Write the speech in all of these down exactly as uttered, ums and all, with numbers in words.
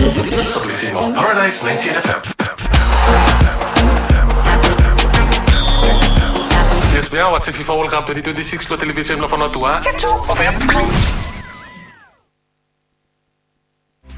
Paradise ninety-eight F M. Yes, bia, watch FIFA World Cup twenty twenty-six lo televisen blo Vanuatu.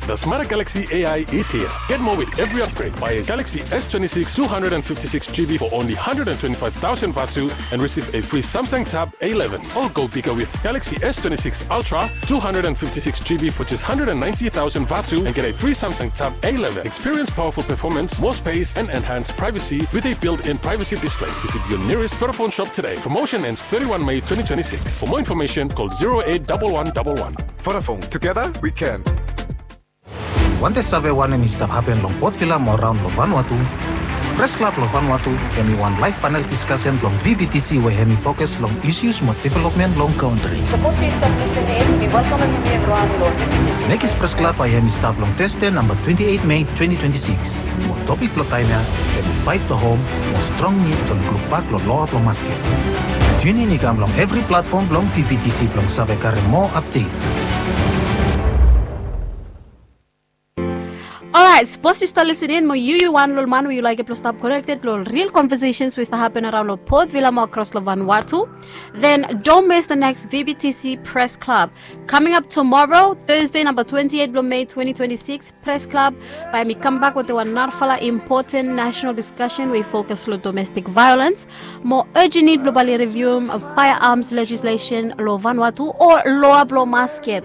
The smarter Galaxy A I is here. Get more with every upgrade. Buy a Galaxy S twenty-six two hundred fifty-six G B for only hundred twenty-five thousand Vatu and receive a free Samsung Tab A eleven. Or go bigger with Galaxy S twenty-six Ultra two hundred fifty-six G B for just hundred ninety thousand Vatu and get a free Samsung Tab A eleven. Experience powerful performance, more space, and enhanced privacy with a built-in privacy display. Visit your nearest Vodafone shop today. Promotion ends thirty-one May twenty twenty-six. For more information, call zero eight double one double one. Vodafone, together we can. Wantem save wanem i stap hapen long Port Vila mo raon long Vanuatu? Pres Klab long Vanuatu hemi wan laev panel diskasen blong V B T C we hemi fokus long isus mo developmen long kantri. Sapos yu stap lisin in, mi welkamem yumi evriwan long V B T C. Nekis Pres Klab bae hemi stap long Tasde namba twenti eit Mei twenti twenti sikis. Mo topik blong taem ya hemi Fight the Home mo strong nid blong lukluk bak long loa blong masket. Tiun in i kam long evri platfom blong V B T C blong save karem moa apdet. Orait, sapos yu stap lisin in mo yu yu wan lo ol man we yu laekem blong stap konekted lo ol ril conversations we i stap hapen araon lo Port Vila mo akros lo Vanuatu, then don't miss the next V B T C Press Club. Coming up tomorrow, Thursday, namba twenti eit blo Mei twenti twenti sikis, Press Club bae hemi kambak wetem wan narafala impoten nasenal diskasen we i fokus lo domestik vaeolens, mo urgent nid blo bae oli rivium firearms legislation lo Vanuatu o loa blo masket.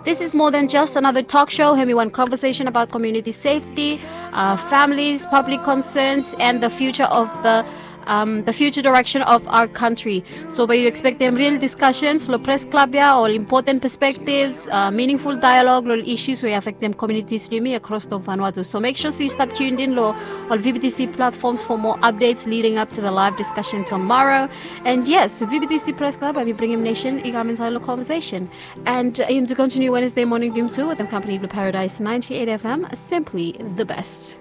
This is more than just another talk show. Hemi wan conversation about community safety, uh, families, public concerns, and the future of the, um, the future direction of our country. So bae yu ekspektem ril diskasens lo Pres Klab ya, ol impoten perspektivs, uh, miningful dialog lo ol isus we i afektem komunitis blo yumi akros lo Vanuatu. So make sure se yu stap tuned in lo ol V B T C platforms for more updates leading up to the live discussion tomorrow. And yes, V B T C Press Club, hemi bringim nesen i kam insaed lo conversation. And, uh, yumi tu kontiniu Wednesday moning blo yumi tu wetem kampani blo Paradise ninety-eight F M, simply the best.